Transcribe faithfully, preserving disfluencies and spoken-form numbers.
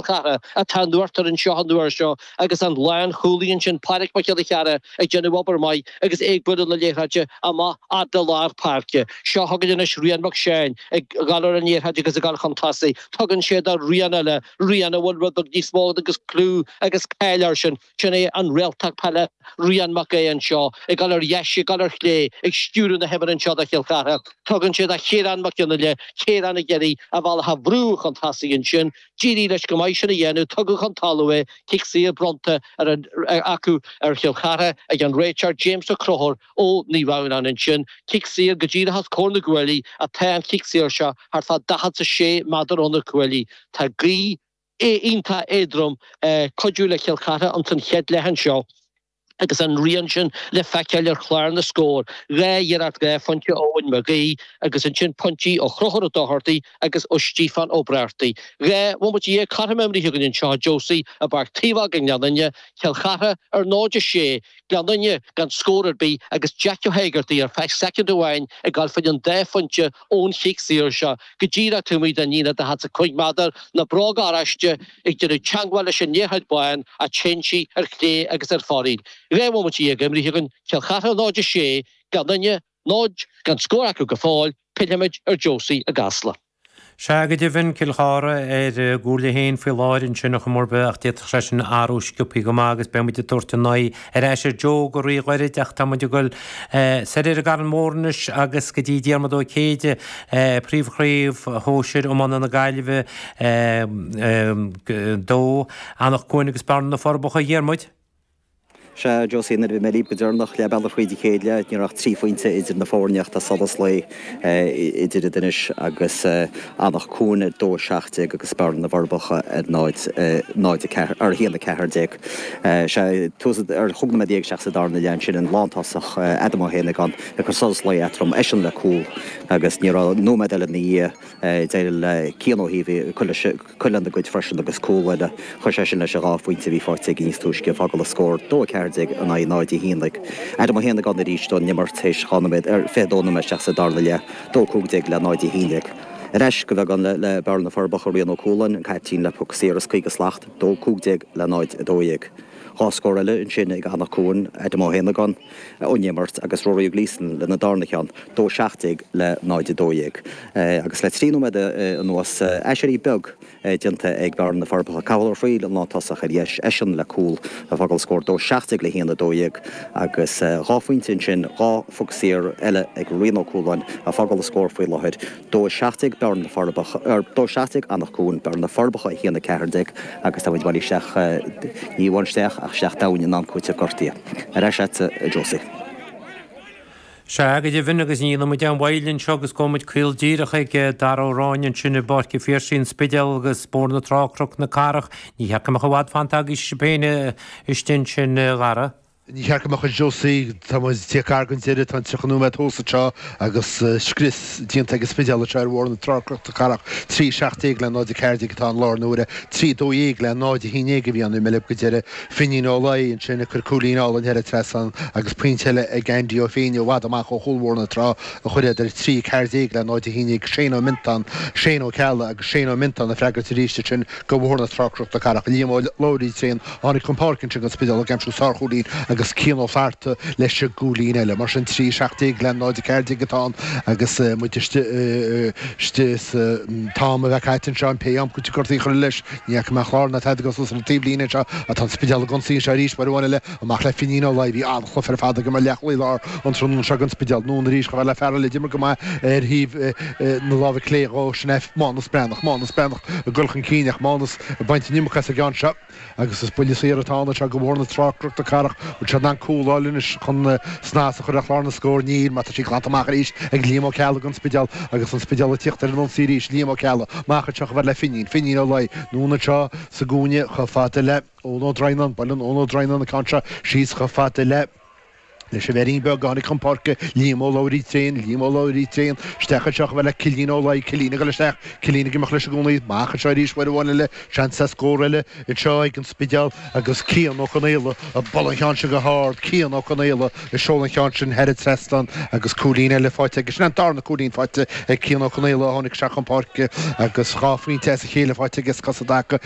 Chartha atá in uachtar anseo an uair seo agus an lánchúlaí ansin Pádraig Mac Giolla Chearra ag déanamh obair maith agus é ag bualadh na liathróide amach fhad le lár páirce. Seo chugainn anois Rian Mac Seáin ag dul ar an liathróid agus ag dul chun tosaigh. Tugann sé do Rian eile, Rian a bhfuil rud beag níos mó agus clú agus cáil air sin. Sin é an réaltach peile Rian Mac Aodha anseo ag dul ar dheis, ag dul ar chlé, ag stiúradh na himeartha anseo do Chill Chartha. Tugann sé do Chiarán Mac Fhionnghaile, Ciarán ag iarraidh a bhealach a bhrú chun tosaigh ansin. D'éirigh leis go maith sin a dhéanamh, tugadh chun talaimh é, cic saor bronnta ar an acu ar Chill Chartha ag an réiteoir James Ó Conchúir ó Naomh Adhamhnáin ansin. Cic saor go díreach os comhair na gcuaillí atá an cic saor seo thart fá daichead is a sé méadar ó na cuaillí. Tá gaoth iontach éadrom ag cuidiú le Cill Chartha ins an chéad leath anseo. agus an rian sin le feiceáil ar chlár na scór, dhá iarracht dhá phointe ó Eoin Mac Aoidh agus ansin pointí ó Chonchúr Ó Dochartaigh agus ó Stíofán Ó Brádaigh. Dhá bhomaite dhéag cothrom imeartha againn anseo, Josie, i bPáirc Taobhóg i nGleann Fhinne, Cill Chartha ar náid a sé, Gleann Fhinne gan scór ar bith agus Jack Ó hÉigeartaigh ar feadh soicind amháin ag dul fá choinne an dá phointe ón chic saor seo go díreach taobh amuigh den líne daichead is a cúig méadar, na bróga oráiste ag déanamh teagmháil leis an liathróid bán ach téann sí ar chlé agus ar fóraoil. Dhá bhomaite dhéag imeartha againn, Cill Chartha náid a sé, Gleann Fhinne náid, gan scór acu go fóill, pillfimid ar Josie i gCasla. Sea, go deimhin, Cill Chartha ar gcúl a haon faoi láthair ansin a chomharba ach d'fhéadfadh sé sin athrú sciobtha go maith agus beidh muid ag tabhairt an aghaidh ar ais ar Joe go ríghairid ach tá muid ag dul soir ar an gCarn Mór anois agus go dtí Diarmuid Ó Céide, Príomh-Chraobh Shóisir Iomána na Gaillimhe dó, Anach Cuain agus Bearna na Forbacha. A Dhiarmuid. Sea, Josie, nuair a bhí mé libh go deireanach leath bealaigh thríd an chéad leath, ní raibh ach trí phointe idir na foirne ach tá solas lae idir iad anois agus Anach Cuain ar dó a seacht déag agus Bearna na bhForbacha ar náid náid a ceathair, ar a haon a ceathair déag. Sea, tús ar chúig nóiméad déag isteach sa darna leath ansin an lántosach Adam Ó hÉanagáin ag cur solas lae eatarthu, eisean le cúl agus ní raibh nóiméad eile ina dhiaidh d'éirigh le Cian Ó hÍomhaigh cur leis cur lena gcuid freisin agus cúl eile. Chuir sé sin leis an dhá phointe a bhí faighte aige níos túisce, ag fágáil an scór dó a ceathair déag in aghaidh náid a haon déag. Adam Ó hÉanagáin arís don imirt théis dhá nóiméad, ar fiche dó nóiméad isteach sa darna leath, dó cúig déag le náid a haon déag. Ar ais go beagán le le Bearna na Forbacha, Rian Ó Cualáin, an caiptín le poc saor as caoga slat, dó cúig déag le náid a dó dhéag. Dhá scór eile ansin ag Anach Cuain, Adam Ó hÉanagáin ón imirt agus Rory Ó Gleeson lena darna cheann, dó seacht déag le náid a dó dhéag. Agus le trí nóiméad anuas, aiséirí beag déanta ag Bearna na Forbacha. Cathal Ó Fríl an lántosach ar dheis, eisean le cúl ag fágáil scór dó seacht déag le haon a dó dhéag agus dhá phointe ansin, dhá phoc saor eile ag Rian Ó Cualáin ag fágáil an scór faoi láthair, dó a seacht déag Bearna na Forbacha, dó seacht déag Anach Cuain, Bearna na Forbacha a haon a ceathair déag agus tá muid bailithe isteach, ní amháin isteach ach isteach domhain in am cúitimh gortaithe. Ar ais agatsa, a Josie. Sea, go deimhin, agus ní dhéanfaidh muid aon mhoill anseo agus gabhfaidh muid caol díreach ag Dara Ó Ráinne ansin i bPáirc an Phiarsaigh, An Spidéal agus Bóthar na Trá, Cnoc na Cathrach. Ní cheart go mbeadh i bhfad fanta agaibh sibh féin istigh ansin, a Dhara. Ní cheart go mbeadh a Josie, tá muid ag tíocht gar don deireadh, tá an tríocha nóiméad thuas anseo agus scrios déanta ag an Spidéal anseo ar Bhóthar na Trá, Cnoc na Cathrach. Trí seacht déag le náid a ceathair déag atá ann i láthair na huaire, trí dó dhéag le náid a haon déag a bhí ann, bhí mé libh go deireadh. Finín Ó Laoi ansin ag cur cúilín álainn thar an trasnán agus pointe eile ag Andy Ó Féinne i bhfad amach ó chúl Bhóthar na Trá a chuir iad ar trí ceathair déag le náid a haon déag. Shane Ó Miontáin, Shane Ó Ceallaigh agus Shane Ó Miontáin ag freagairt arís ansin do Bhóthar na Trá, Cnoc na Cathrach. Liam Ó Labhraí tréan a tháinig chun páirce ansin don Spidéal ag aimsiú sárchúilín agus Cian Ó Flatharta leis an gcúilín eile. Mar sin, trí seacht déag le náid a ceathair déag atá ann agus muid istigh sa t-am a bheith caite anseo, pé am cúiteamh gortaithe a chur leis. Ní fhaca mé an clár ná tada suas ar an taobhlíne anseo ach tá an Spidéal ag ionsaí anseo arís uair amháin eile amach le Finín Ó Laoi. Bhí an-chluiche ar fad aige mar leathchúlaí láir an tráthnóna seo don Spidéal. Anonn arís chomh fada le fear eile a d'imir go maith ar thaobh na láimhe clé dhó, sin é Mánas Breathnach. Mánas Breathnach ag dul chun cinn ach Mánas ag baint an iomarca as an gceann seo. Agus is buille saor atá ann anseo do Bhóthar na Trá, Cnoc na Cathrach. Bhfuil siad in ann cúl a fháil anois chun snas a chur ar chlár na scór? Níl, mar tá sí glanta amach arís ag Liam Ó Ceallaigh don Spidéal agus an Spidéal ag tíocht ar an ionsaí arís. Liam Ó Ceallaigh amach anseo chomh fada le Finín. Finín Ó Laoi anonn anseo sa gcúinne chomh fada le Eoin Ó Droighneáin. Buaileann Eoin Ó Droighneáin an ceann seo síos chomh fada le. Leis an bhfeirín beag a tháinig chun páirce, Liam Ó Labhraí tréan, Liam Ó Labhraí tréan, isteach anseo chomh fada le Cillín Ó Laoi, Cillín ag dul isteach, Cillín ag imeacht leis i gcónaí, amach anseo arís uair amháin eile, seans ar scór eile anseo ag an Spidéal agus Cian Ó Conaola ag bualadh an cheann sin go hard, Cian Ó Conaola ag seoladh an cheann sin thar an trasnán agus cúilín eile faighte aige. Sin an darna cúilín faighte ag Cian Ó Conaola a tháinig isteach chun páirce agus dhá phointe as a chéile faighte aige sna cosa i dtaca.